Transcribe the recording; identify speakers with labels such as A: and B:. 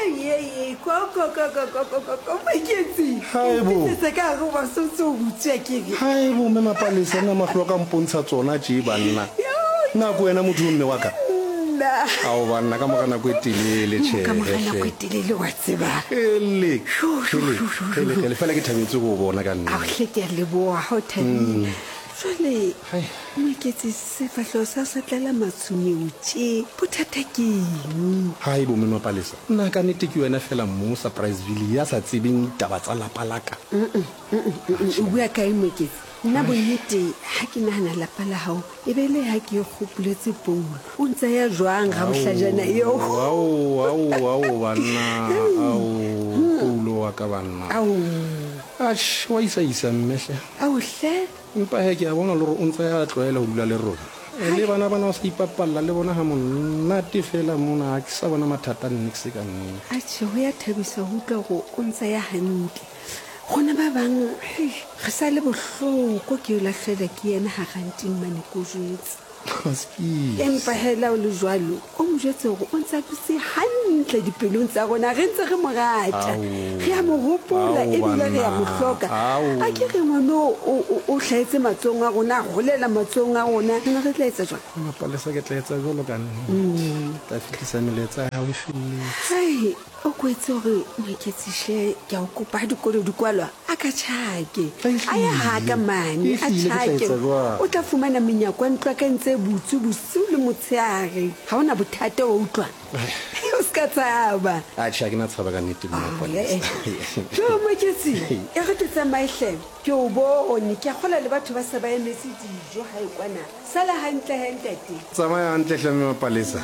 A: Ei, ei, ko, ko, ko, ko, ko, ko, ko, ko, Moeketsi.
B: Haebo.
A: Ke se ka go ba sotse o butswa ke re.
B: Haebo, mme Mapalesa, nna mahlo a ka mpontsha tsona tše, banna. Na ke wena motho yo mme wa ka?
A: Nna.
B: Ao banna, ka mora nako e telele, tjhe.
A: Ka mora nako e telele, wa tseba.
B: Ele, ele, ele, ele, fela ke thabetse go o bona ka nnete.
A: Ao hle, ke a leboha, ha o thabile. Jwale, Moeketsi, sefahleho sa sa tlala matshwenyeo tše, bothata ke eng?
B: Hai bo Mme Mapalesa, nna ka nnete ke wena fela mo Surpriseville ya sa tsebeng ditaba tsa lapa la ka?
A: O bua kae Moeketsi? Nna bonnete ha ke nahana lapa la hao e be le ha ke gopoletse Paulo. O ntsa ya jwang gabohlajana eo?
B: Ao, ao, ao, banna, ao, Paulo wa ka banna.
A: Ao.
B: Atjhe, wa isa-isa mme hle.
A: Ao hle.
B: Empa he ke a bona le gore o ntse a tlwaela go dula le rona. Le bana bana o sa ipapalla le bona ga monate fela mona, ga ke sa bona mathata nix ka nnete.
A: Atjhe, ho ya thabisa ho utlwa gore o ntse ya hantle. Rona ba bang, hei, re sa le bohloko ke yo lahlelwa ke yena ha ranting mane ko jwetse. Empa he la o le jwalo, o mo jwetse hore o ntse a dutse hantle dipelong tsa rona, re ntse re mo rata, re a mo hopola ebile re a mo hloka. A ke re ngwano o hlahetse matsohong a rona, a holela matsohong a rona, re ne re tla etsa jwang?
B: Mapalesa, ke tla etsa jwalo ka nnete. Ke tla fetisa melaetsa ya hao e felletse.
A: Hai, O kwetse hore Moeketsi hle ke a o kopa ha dikolo di kwalwa a ka tjhake. A ye ha ka mane a tjhake. O tla fumana menyako ya ntlo ya ka e ntse e butswe bosiu le motshehare. Ha o na bothata wa utlwa? O se ka tshaba.
B: Atjhe ha ke na tshaba ka nnete mme Mapolesa.
A: Jo Moeketsi, e re ke tsamaye hle. Ke o bone, ke a kgolwa le batho ba se ba emetse dijo hae kwana. Sala hantle he ntate.
B: Tsamaya hantle hle mme Mapalesa.